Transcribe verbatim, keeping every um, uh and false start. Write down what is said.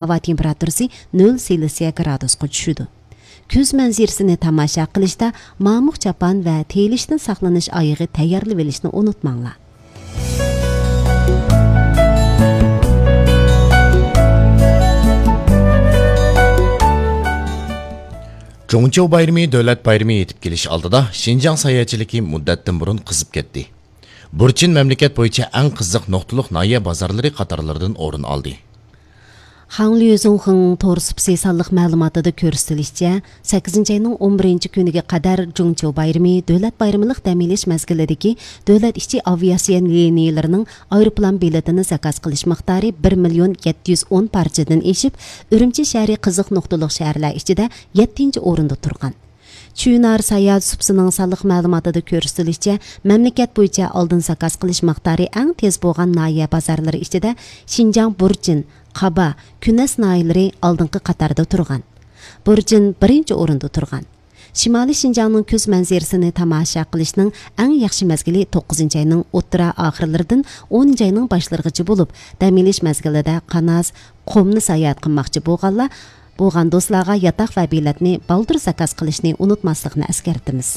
ھاۋا تېمپېراتۇرىسى نۆل سېلسىيە گرادۇسقا چۈشىدۇ. كۈز مەنزىرىسىنى تاماشا قىلىشتا مامۇق چاپان ۋە تېيىلىشتىن ساقلىنىش ئايىغى تەييارلىۋېلىشنى ئۇنتۇماڭلار. جۇڭچيۇ بايرىمى دۆلەت بايرىمى يېتىپ كېلىش ئالدىدا شىنجاڭ ساياھەتچىلىكى مۇددەتتىن بۇرۇن قىزىپ كەتتى. بۇرچىن مەملىكەت بويىچە ئەڭ قىزىق نۇقتىلىق ناھىيە بازارلىرى قاتارلىرىدىن ئورۇن ئالدى. خاڭليۇزۇڭخېڭ تور سۇپىسى سانلىق مەلۇماتىدا كۆرسىتىلىشىچە، سەككىزىنچى ئاينىڭ ئون بىرىنچى كۈنىگە قەدەر جۇڭچيۇ بايرىمى دۆلەت بايرىملىق دەم ئېلىش مەزگىلىدىكى دۆلەت ئىچى ئاۋىئاتسىيە لىنىيىلىرىنىڭ ئايروپىلان بېلىتىنى زاكاز قىلىش مىقدارى بىر مىليون يەتتە يۈز ئون پارچىدىن ئېشىپ، ئۈرۈمچى شەھىرى قىزىق نۇقتىلىق شەھەرلەر ئىچىدە يەتتىنچى ئورۇندا تۇرغان. چۈنار ساياھەت سۇپىسىنىڭ سانلىق مەلۇماتىدا كۆرسىتىلىشىچە، مەملىكەت بويىچە ئالدىن زاكاز قىلىش مىقدارى ئەڭ تېز بولغان ناھىيە بازارلىرى ئىچىدە شىنجاڭ بۇرچىن، قابا، كۈنەس ناھىيەلىرى ئالدىنقى قاتاردا تۇرغان. بۇرچىن بىرىنچى ئورۇندا تۇرغان. شىمالىي شىنجاڭنىڭ كۈز مەنزىرىسىنى تاماشا قىلىشنىڭ ئەڭ ياخشى مەزگىلى توققۇزىنچى ئاينىڭ ئوتتۇرا ئاخىرلىرىدىن ئونىنچى ئاينىڭ باشلىرىغىچە بولۇپ، دەم ئېلىش مەزگىلىدە قاناس، قۇمنى ساياھەت قىلماقچى بولغانلار، بولغان دوستلارغا ياتاق ۋە بېلەتنى بالدۇر زاكاز قىلىشنى ئۇنتۇماسلىقنى ئەسكەرتىمىز.